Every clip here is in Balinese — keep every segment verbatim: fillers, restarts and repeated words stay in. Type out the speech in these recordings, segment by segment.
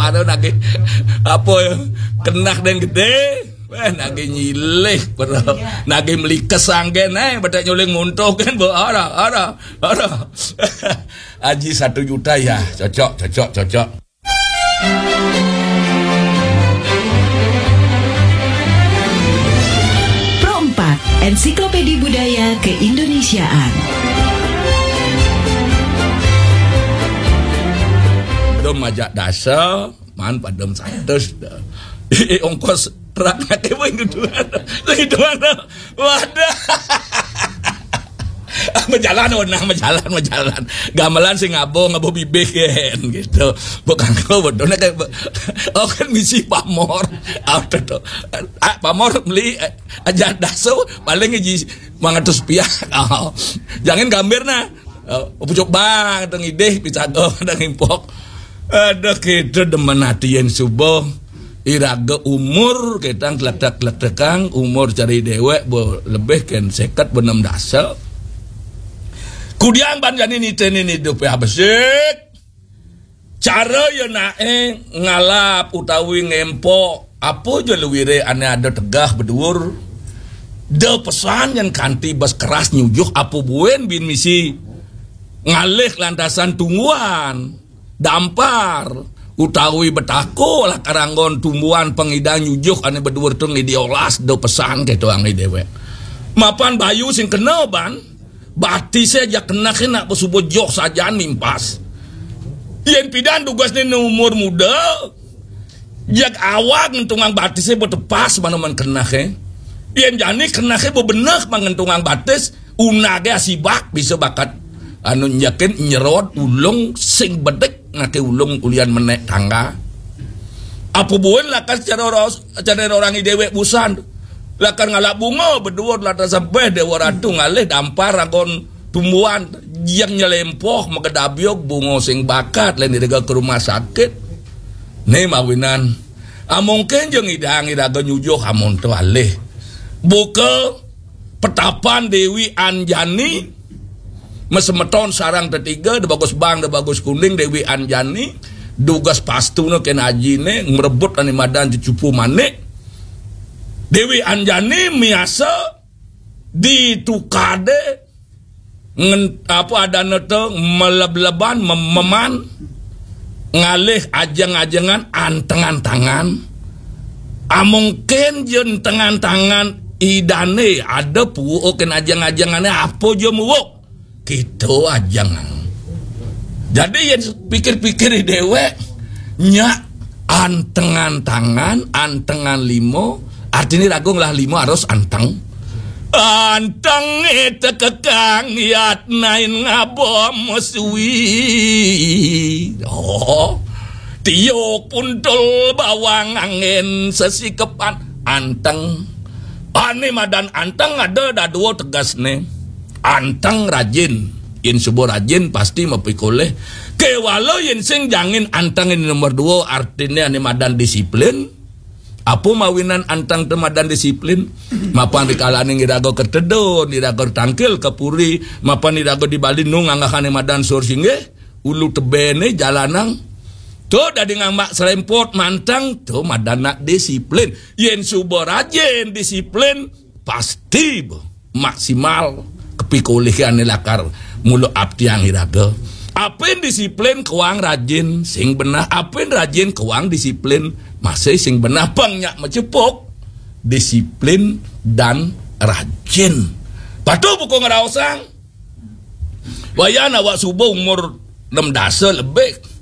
Ada nagih apa ya? Kenah dén gedé. Wéh, nagih nyilih, bro. Nagih melikes anggén, eh, betek nyuling muntuh kan, bo. Ada, ada, ada. Aji satu juta ya, cocok, cocok, cocok. Pro empat, Ensiklopedi Budaya Keindonesiaan. Dom majak dasa, man padem satus dah. Ongkos truk nak kewin gitu. Gitu mana? Wadah. Majalan, oh, nah, majalan, majalan. Gamelan sing ngabo, ngabo bibih kan gitu. Bukan kau bodoh nak kayak, oh, kan misi pamor. Ah, tuh, tuh. Ah, pamor beli, eh, aja daso paling aja mangatus piah. Oh. Jangan gambir nah. Oh, pucuk bang, ada ngidih, picago, ada ngimpok. Ada kita demen hati yang subuh. Iraga umur kita kletek-kletekang, umur cari dewek bo lebih ken seket benem dasa. Kudiang ban jani niteni hidup ya besik. Cara ya nae ngalap utawi ngempo apa ja luwire ane ada tegah beduur. Da pesan yang kanti bas keras nyujuh apa buen bin misi ngalih lantasan tungguan, dampar, utawi betako lah karanggon tumbuhan pengidang nyujuh ane beduur tu ngidi olas da pesan keto angi dewek. Mapan bayu sing kena ban, batise ja kena kena pesubo joh sajan mimpas. Yen pidan dugasne ne umur muda, jak awak ngentungang batise betepas manaman kena ke. Yen jani kena ke bebenek mangentungang batis, unage asibak bisa bakat anu nyakin nyerot ulung sing bedek ngake ulung ulian menek tangga. Apa buin lakar cara orang, cara orang dewek busan. Lakar ngalap bunga beduur lata sampai dewa ratu ngalih dampar ragon tumbuhan yang nyelempoh megedabiok bunga sing bakat lain dega ke rumah sakit. Ne mawinan. Ah, mungkin je ngidang iraga nyujuh amun tu alih. Buka petapan Dewi Anjani, mesemeton sarang tetiga, da bagus bang, da bagus kuning, Dewi Anjani, dugas pastuna ken ajine, merebut ane madan cucupu manik. Dewi Anjani miasa ditukade ngen, apa adane te meleb-leban, mem-, meman, ngalih ajeng-ajengan, antengan tangan. Amungkin je entengan tangan idane ada puukin ajeng-ajengane apa je muuk. Kita ajeng. Jadi yen pikir-pikir dewek, nyak antengan tangan, antengan limo, artine ragung lah limo harus anteng. Anteng ite kekang yat nain ngabom suwi. Oh, tiuk puntul bawang angin sesikepan anteng. Ane madan anteng ada dadua tegasne. Anteng rajin. Yen suba rajin pasti mapikoleh. Kewala yen sing jangin anteng ini nomor dua, artine ane madan disiplin. Apa mawinan anteng te madan disiplin? Mapan dikalane ngiraga ketedun, ngiraga tangkil ke puri, mapan ngiraga di Bali nu nganggahane madan sur singgih, ulu tebene jalanang. Tu dadi ngambak serempot manteng, tu madan nak disiplin. Yen suba rajin disiplin, pasti bo maksimal kepikolih ane lakar mula aptiang iraga. Apin disiplin kewang rajin sing benah, apin rajin kewang disiplin masih sing benah. Pang nyak macepuk disiplin dan rajin. Patuh buku ngeraosang. Wayan awak suba umur enam dasa lebih.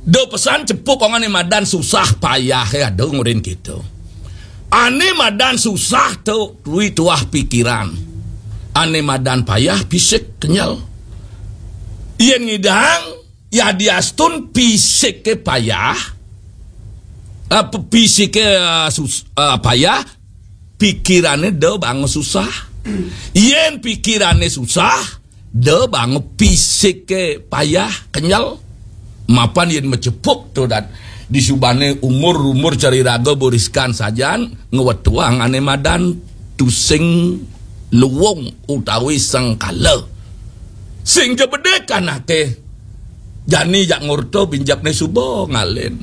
Da pesan cepuk orang ni madan susah payah ya ada ngurin kita. Ane madan susah tu tui tuah pikiran. Ane madan payah fisik kenyal. Yen ngidang ya diastun fisik ke payah. Apa fisik ke uh, sus, uh, payah, pikirane da bangun susah. Yen pikirane susah, da bangun fisik ke payah kenyal. Mapan yen macepuk tu dat disubane umur-umur cari raga buriskan sajan ngewetuang ane madan tusing luwung utawi sengkala. Sing je bedekan ake jani jak ngurto binjapne suba ngalen.